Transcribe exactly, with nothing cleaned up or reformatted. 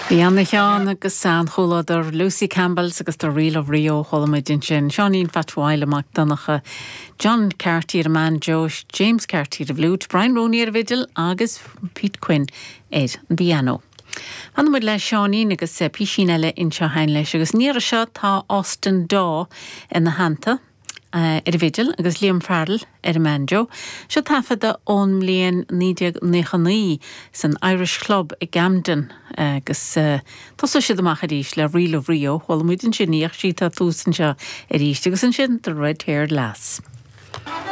Bhí an-cheol agus an-chomhluadar Lucy Campbell's agus The Reel of Rio chuala muid ansin Seáinín Phat Mhaidhcil Mac Donncha, John Carty ar an mbanjo, James Carty ar an bhfliúit, Brian Rooney ar an bhfidil agus Pete Quinn ar an bpianó. Fanfaidh muid le Seáinín agus písín eile anseo féin leis agus an iarraidh seo tá Austin Daw ina theannta. Ar an bhfidil agus Liam Farrell ar an mbanjo, seo taifeadadh ón mbliain naoi déag nócha naoi san Irish Club i gCamden agus tosóidh siad amach arís le Reel of Rio, chuala muid ansin í ach sí atá thuas anseo arís agus ansin The Red Haired Lass.